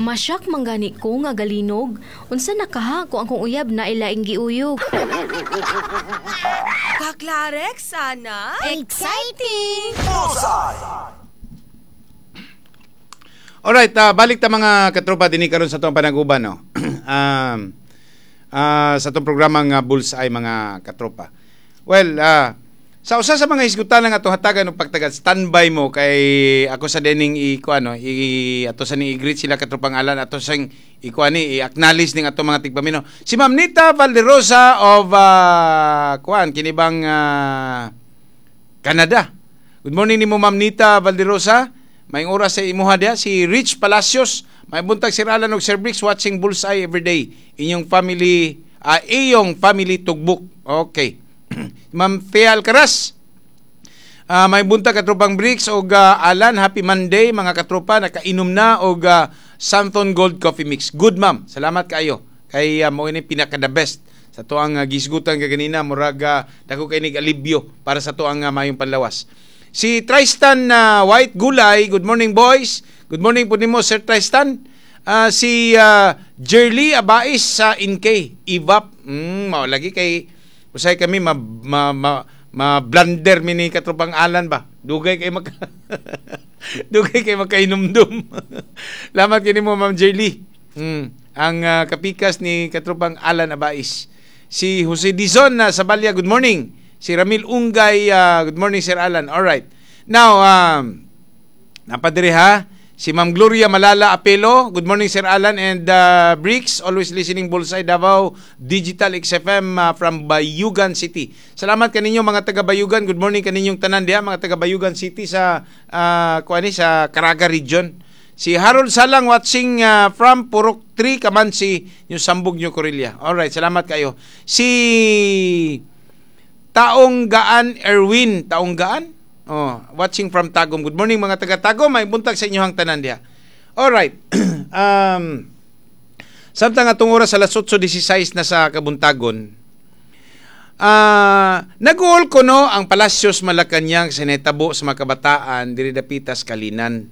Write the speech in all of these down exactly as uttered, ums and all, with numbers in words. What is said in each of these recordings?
Masyak manggani ko nga galinog. Unsa na kaha kung akong uyab na ilaing giuyog. Kaklarex, sana? Exciting! Alright, ah, balik ta mga katropa dinhi karon sa atong panaguban, no. um, ah, sa atong programa nga Bullseye, mga katropa. Well, ah, sa usa sa mga hisgutan nga atong hatagan og pagtagad, standby mo kay ako sa dening i kuano i ato sa ning i-greet sila, katropang Alan, ato sang i ni i-acknowledge ning atong mga tigpamino. Si Ma'am Nita Valderosa of ah, kuan kini bang ah, Canada. Good morning nimo, Ma'am Nita Valderosa. May oras sa imuha diha. Si Rich Palacios, may buntag, Sir Alan og Sir Bricks, watching Bullseye every day. Inyong family, ah, iyong family tugbok. Okay. Ma'am Thea Alcaraz, Ah, may buntag, katropang Bricks og ah, Alan, happy Monday, mga katropa, nakainom na og uh, Santon Gold Coffee Mix. Good, ma'am. Salamat kaayo. Kay uh, mao ini pinaka the best sa tuang uh, gisgutan kaganina, murag uh, dako kay nig alibyo para sa tuang uh, mayong panlawas. Si Tristan uh, White Gulay, good morning, boys. Good morning po nimo, Sir Tristan. Ah, si uh, Jerly Abais sa I N K, I V A P. Mm, mao lagi kay usay kami ma, ma, ma, ma blunder mi ni katropang Alan ba. Dugay kay maka Dugay kay makainomdum. Lamat kini mo, Ma'am Jerly. Mm, ang ah, kapikas ni katropang Alan Abais. Si Jose Dizon na sa Balya, good morning. Si Ramil Ungay, ah, good morning, Sir Alan. All right. Now, um, napadiri ha. Si Ma'am Gloria Malala Apelo, good morning, Sir Alan and uh, Bricks, always listening Bullseye Davao Digital X F M uh, from Bayugan City. Salamat kaninyo, mga taga Bayugan. Good morning kaninyong tanan diha, mga taga Bayugan City sa uh, kuani sa Caraga Region. Si Harold Salang watching uh, from Purok three Kamansi, New Sambug, New Corilla. All right, salamat kayo. Si Taong Gaan Erwin, Taong Gaan? Oh, watching from Tagum. Good morning, mga taga Tagum, may buntag sa inyohang tanan diha. All right. um samtang atong oras alas otso sesenta y sais na sa kabuntagon. Ah, nag-uol ko no ang Palasyos Malacañang sa nahitabo sa mga kabataan diri dapita sa Kalinan.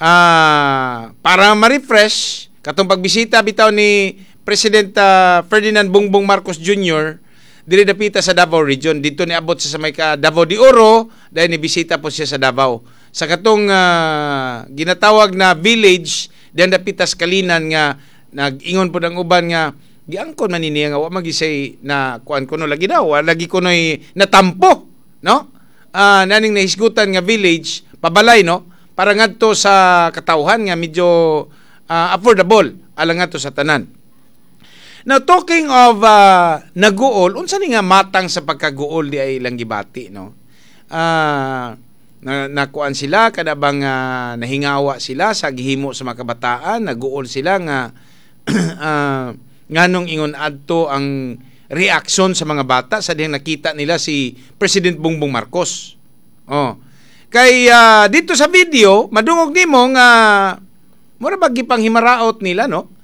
Ah, para ma-refresh katong pagbisita bitaw ni President ah, Ferdinand Bongbong Marcos Junior diri dapita sa Davao Region, dito ni abot siya sa may ka Davao de Oro, dahil ni bisita po siya sa Davao. Sa katong ah, ginatawag na village diyan dapita sa Kalinan nga nag-ingon po ang uban nga giangkon man ni niya nga wa magisay na kuan kuno lagi daw, wa lagi kunoy natampo, no, ah naning nahisgutan nga village pabalay, no, para ngadto sa katawhan nga medyo ah, affordable alang ngadto sa tanan. Now, talking of uh, naguol, unsa ni nga matang sa pagkaguol di ay ilang gibati, no? Ah, na nakuan sila kada bang ah, nahingawa sila sa gihimo sa mga kabataan, naguol sila nga ah, nganong ingon adto ang reaksyon sa mga bata sa dihang nakita nila si President Bongbong Marcos. Oh. Kay ah, dito sa video, madungog nimo nga mura ba gipanghimaraot nila, no?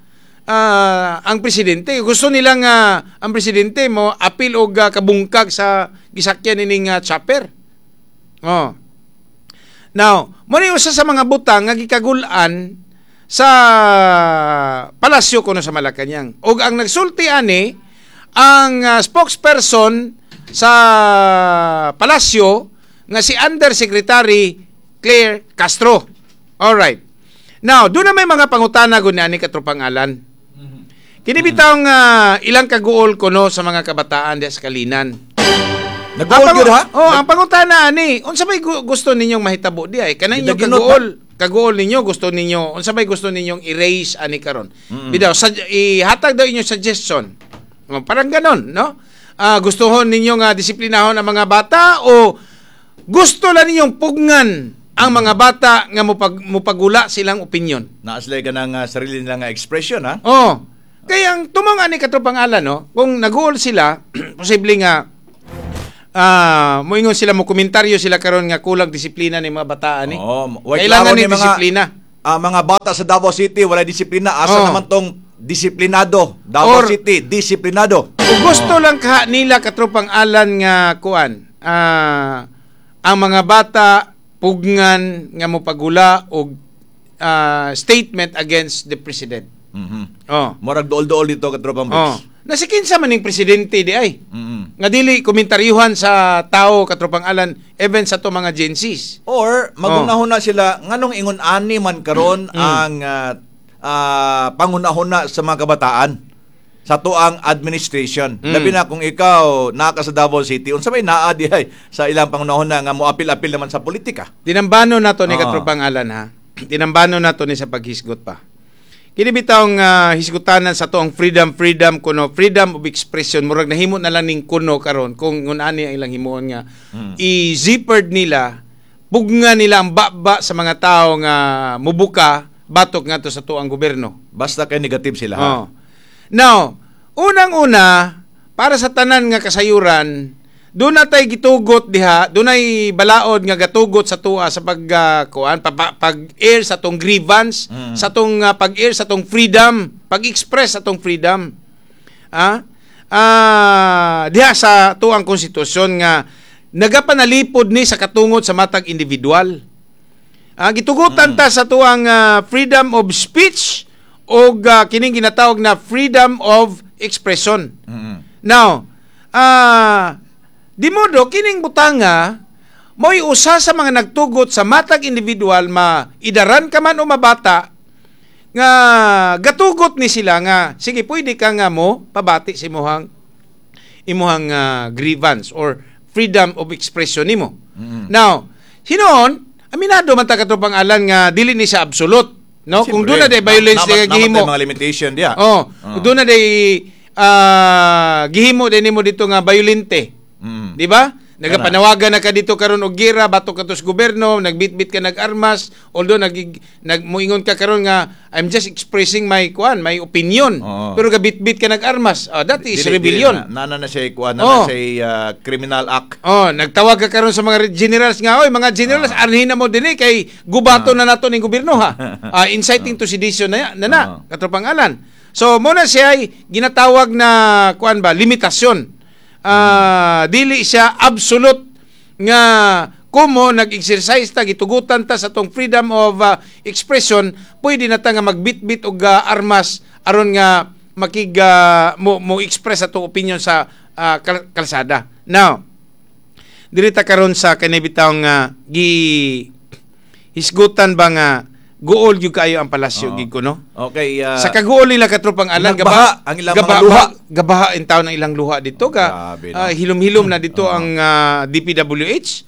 Ah, ang presidente gusto nila nga ang presidente mo apil og ah, kabungkag sa gisakyan nining ah, chopper. Oh. Now, mo ni usa sa mga butang nga gikagul-an sa palasyo kuno sa Malacañang. Og ang nagsulti ani ang ah, spokesperson sa palasyo nga si Undersecretary Claire Castro. All right. Now, doon na may mga pangutana gud ni katropang Alan. Kini bitawng ah, ilang kaguol kuno sa mga kabataan diya sa Kalinan. Nag-uol Ang gyud ha? Oh, ang pangutana ani, unsa may gu- gusto ninyong mahitabo di ay? Kanang inyong Gidaginot? kaguol, kaguol ninyo, gusto ninyo, unsa may gusto ninyong i-raise ani karon? Bidaw, sa, ihatag daw inyong suggestion. Oh, parang ganon, no? Ah, gustuhon ninyo nga disiplinahon ang mga bata o gusto lang ninyong pugngan ang mga bata nga mupag, mupagula silang opinion? Naa sila ka ng uh, sarili nilang uh, expression ha. Oh. Kaya ang tumong ani katropang Alan, no, kung naguol sila, posible nga ah moingon sila, mo komentaryo sila karon nga kulang disiplina ni mga bataan ni. Oo, way Kailangan klaro ni ni mga disiplina. Ah, mga bata sa Davao City wala disiplina. Asa Oh. naman tong disiplinado? Davao Or- City, disiplinado. Kung gusto lang ka nila, katropang Alan, nga kuan, ah ang mga bata pugngan nga mopagula og ah, statement against the president. Mhm. Oh. Murag duol-duol dito, katropang Oh. Bricks. Nasi kinsa man ning presidente di ay? Mhm. Nga dili komentaryuhan sa tao, katropang Alan, even sa to mga Gen Zs. Or magunahuna sila nganong ingon ani man karon Mm. ang ah, ah, pangunahuna sa mga kabataan sa tuang administration. Mm. Labi na kung ikaw naa ka sa Davao City, unsa may naa dihay sa ilang pangunahuna nga moapil-apil naman sa politika. Tinambano nato ni Oo. katropang Alan ha. Tinambano nato ni sa paghisgot pa. Kini bitawng uh, hisgutanan sa tuang freedom freedom kuno, freedom of expression, murag nahimo na lang ning kuno karon kung ngun ani ang ilang himuon nga Mm. i-zippered nila, pugna nila ang baba sa mga tao nga mubuka batok ngadto sa tuang gobyerno. Basta kay negative sila ha. Oh. Now, unang-una, para sa tanan nga kasayuran, doon na tay gitugot diha, dunay balaod nga gatugot sa tuwa sa pag ah, kuan pa, pa- pag-air sa tong grievance, Mm. sa tong ah, pag-air sa tong freedom, pag-express sa tong freedom. Ah? Ah, diha sa tuang konstitusyon nga nagapanalipod ni sa katungod sa matag individual. Ah, gitugutan ta sa tuang ah, freedom of speech o kining ginatawag na freedom of expression. Mm. Now, ah di modo kining butanga mo'y usa sa mga nagtugot sa matag individual, maidaran ka man o mabata, nga gatugot ni sila nga sige, pwede ka nga mo pabati sa imuhang imuhang ah, grievance or freedom of expression nimo. Mm. Now, hinuon, aminado man ta, katropang Alan, nga dili ni siya absolute, no? Kung Siyempre, doon na day violence na- na, na- gihimo. namatay mga limitation diya. Oh, Oh. doon na day ah, gihimo din nimo dito nga violente. Mm. Di ba? Nagapanawagan na ka dito karon og gira batok ka sa gobyerno, nagbitbit ka nag-armas, although nag nag muingon ka karon nga "I'm just expressing my kuan, my opinion." Oo. Pero gabitbit ka nag-armas. Ah, that is Dili- rebellion. dili na, na, na siya kuan na, Oh. na siya ah, criminal act. Oh, nagtawag ka karon sa mga generals nga, "Oy, mga generals, arhin na mo dinhi kay gubato na nato ning gobyerno ha." Ah, inciting to sedition na na, na Ah. katropang Alan. So, muna siya ay ginatawag na kuan ba, limitasyon. Ah, dili siya absolute nga kumo nag-exercise ta, gitugutan ta sa tong freedom of ah, expression, pwede na ta nga magbitbit og ah, armas aron nga makig ah, mo mo express atong opinion sa ah, kal- kalsada. Now, diri ta karon sa kani bitawng nga gi hisgutan ba nga guol gyud kaayo ang palasyo Oo. gid ko, no? Okay, ah, Sa kaguol nila, katropang Alan, nagbaha ang ilang gaba, mga luha. Gabaha in taon ang ilang luha dito ga. Grabe, no? ah, hilom-hilom na dito ang ah, D P W H.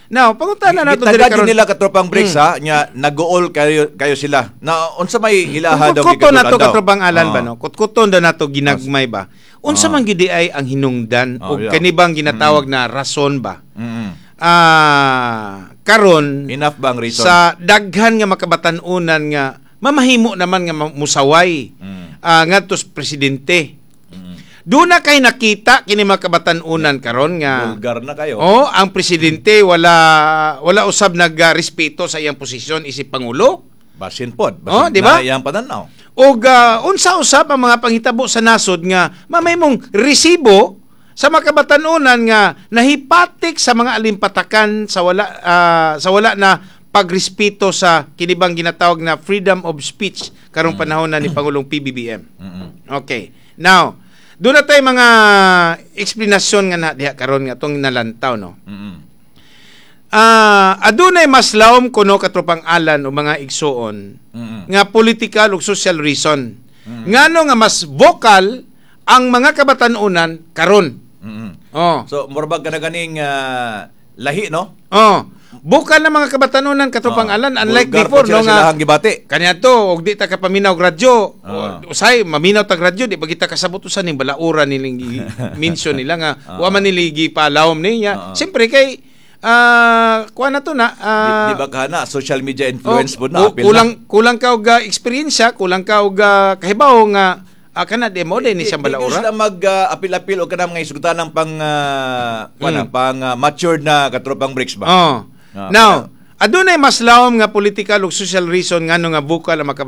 Now, pangutana nato diri Gitagad karon. nila, katropang Bricks, ha, nya nagool kayo kayo sila. Na unsa may ilaha daw Kutkuton nato gikatulan daw? katropang Alan Oo. ba, no? Kutkuton daw nato ginagmay ba. Unsa Oo. man gyud di ay ang hinungdan Oh, og yeah. kani bang ginatawag na rason ba? Mm. Ah, karon Enough ba ang reason? sa daghan nga makabatan-unan nga mamahimo naman nga ma- musaway Mm. ah, ngadto sa presidente. Mm. Doon na kay nakita kini mga kabatan-unan karon nga Vulgar na kayo. Oh, ang presidente wala wala usab nagrespeto sa iyang posisyon isip pangulo. Basin pod. Basin Oh, di ba? na iyang pananaw. Og ah, unsa usab ang mga panghitabo sa nasod nga mamahimong resibo sa mga kabatan-unan nga nahipatik sa mga alimpatakan sa wala ah, sa wala na pagrespeto sa kinibang ginatawag na freedom of speech karong panahon na ni Pangulong P B B M. Mm-mm. Okay. Now, doon na tayo mga eksplanasyon nga na diha karon nga atong nalantaw, no. Mm-mm. Ah, adunay mas lawom kuno, katropang Alan o mga igsuon, Mm-mm. nga political ug social reason. Ngano nga mas vocal ang mga kabatan-unan karon. Mm-mm. Oh. So murabag ka na ganing ah, lahi, no? Oh. Vocal na mga kabatan-unan, katropang Oh. Alan, unlike Vulgar before pa sila no nga silahang gibati. kanya to og di ta kapaminaw og radyo. Ah. O, usay maminaw tag radyo, di ba kita kasabot usa ning balaura niling gi- mention nila nga Ah. wa man nila gipalawom niya. Ah. Siyempre kay ah kuha na to na Di, ah, di ba ka na social media influence oh, po na ku- apil kulang na. kulang ka og ah, eksperyensya, kulang ka og ah, kahibaw nga ah, kana di mo din ni siyang Di- di- di balaura. sila mag ah, apil-apil o kanang mga isgutan ng pang uh, Mm. pang ah, matured na katropang Bricks ba? Oh. Ah, Now, adunay mas lawom nga political ug social reason ngano nga vocal ang mga